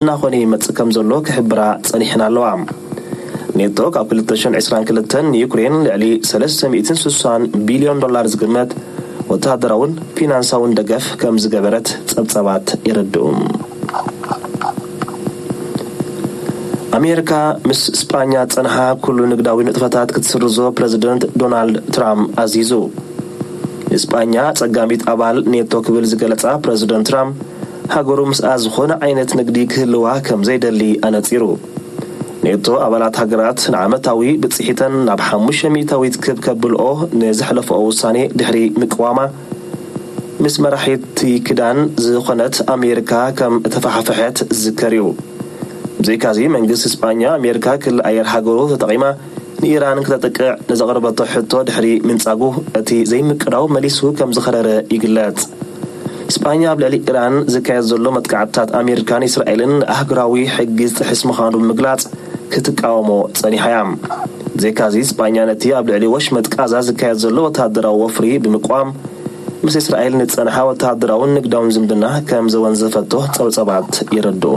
እናኾነ ይመጽእ ከም ዘሎ ክሕብራ ጸኒሕን ኣለዋ። ኔቶ ካብ ክልተ ሽሕን ዕስራን ክልተን ንዩክሬን ልዕሊ ሰለስተ ሚእትን ስሳን ቢልዮን ዶላር ዝግመት ወተሃደራውን ፊናንሳውን ደገፍ ከም ዝገበረት ጸብጻባት የረድኡ። ኣሜሪካ ምስ ስጳኛ ጸንሓ ኩሉ ንግዳዊ ንጥፈታት ክትስርዞ ፕረዚደንት ዶናልድ ትራምፕ ኣዚዙ። ንስጳኛ ጸጋሚት ኣባል ኔቶ ክብል ዝገለጻ ፕረዚደንት ትራምፕ፣ ሃገሩ ምስኣ ዝኾነ ዓይነት ንግዲ ክህልዋ ከም ዘይደሊ ኣነጺሩ። ኔቶ ኣባላት ሃገራት ንዓመታዊ ብጽሒተን ናብ ሓሙሽተ ሚእታዊት ክብ ከብልኦ ንዘሕለፈኦ ውሳኔ ድሕሪ ምቅዋማ፣ ምስ መራሒቲ ክዳን ዝኾነት ኣሜሪካ ከም እተፋሓፈሐት ዝዝከር እዩ። ብዘይካዚ መንግስቲ ስጳኛ ኣሜሪካ ክሊ ኣየር ሃገሩ ተጠቒማ ንኢራን ክተጥቅዕ ንዘቕረበቶ ሕቶ ድሕሪ ምንጻጉ፣ እቲ ዘይምቅዳው መሊሱ ከም ዝኸረረ ይግለጽ። ስጳኛ ኣብ ልዕሊ ኢራን ዝካየድ ዘሎ መጥቃዕትታት ኣሜሪካን እስራኤልን ኣህጉራዊ ሕጊ ዝጥሕስ ምዃኑ ብምግላጽ ክትቃወሞ ጸኒሓ እያ። ብዘይካዚ ስጳኛ ነቲ ኣብ ልዕሊ ወሽመጥ ቃዛ ዝካየድ ዘሎ ወተሃደራዊ ወፍሪ ብምቋም ምስ እስራኤል ንጸንሓ ወተሃደራውን ንግዳውን ዝምድና ከም ዘወንዘፈቶ ጸብጸባት ይረድኡ።